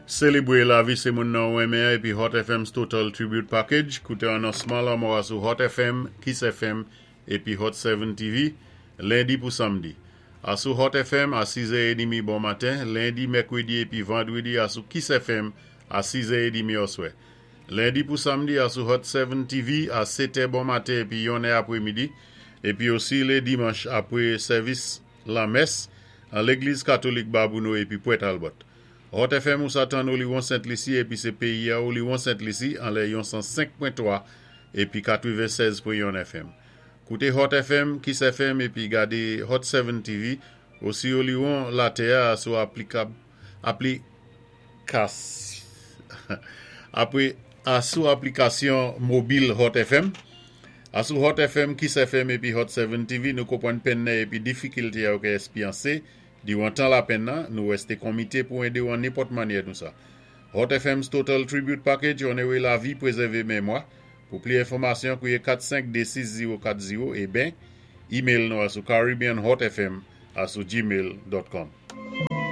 Sélébwé lavi sé moun nan ou renmen épi Hot FM's Total Tribute Package. Kouté anonsman lanmò a sou Hot FM, Kiss FM épi Hot 7 TV, lendi pou samdi. Asou Hot FM a 6h30 bon maten, lendi, mèkwédi épi vandwédi asou Kiss FM a 6h30 oswè. Lendi pou samdi asou Hot 7 TV a 7h bon maten épi 1è apwémidi, épi osi lé dimanch apwé sèvis lamès an Légliz Katolik Babouno épi Pwent Albert. Hot FM ou sa tann Oliwon Sent Lisi épi sé péyi a Oliwon Sent Lisi anlè yon 105.3 épi 96.1 FM. Kouté Hot FM, Kiss FM épi gadé Hot 7 TV osi Oliwon latè a sou aplikab aplikas apwé asou aplikasyon mobil Hot FM. Asou Hot FM, Kiss FM épi Hot 7 TV, nou konpwann penn nan épi difikilté a ou ka èspyansé diwan tan lapenn nan, nou wèsté konmité pou édé ou an nenpòt mannyè nou sa. Hot FM's Total Tribute Package, onoré lavi, pwézèvé mémwa. Pou pli enfòmasyon, kouwé 4526040 é ben, email nou asou caribbeanhotfm@gmail.com.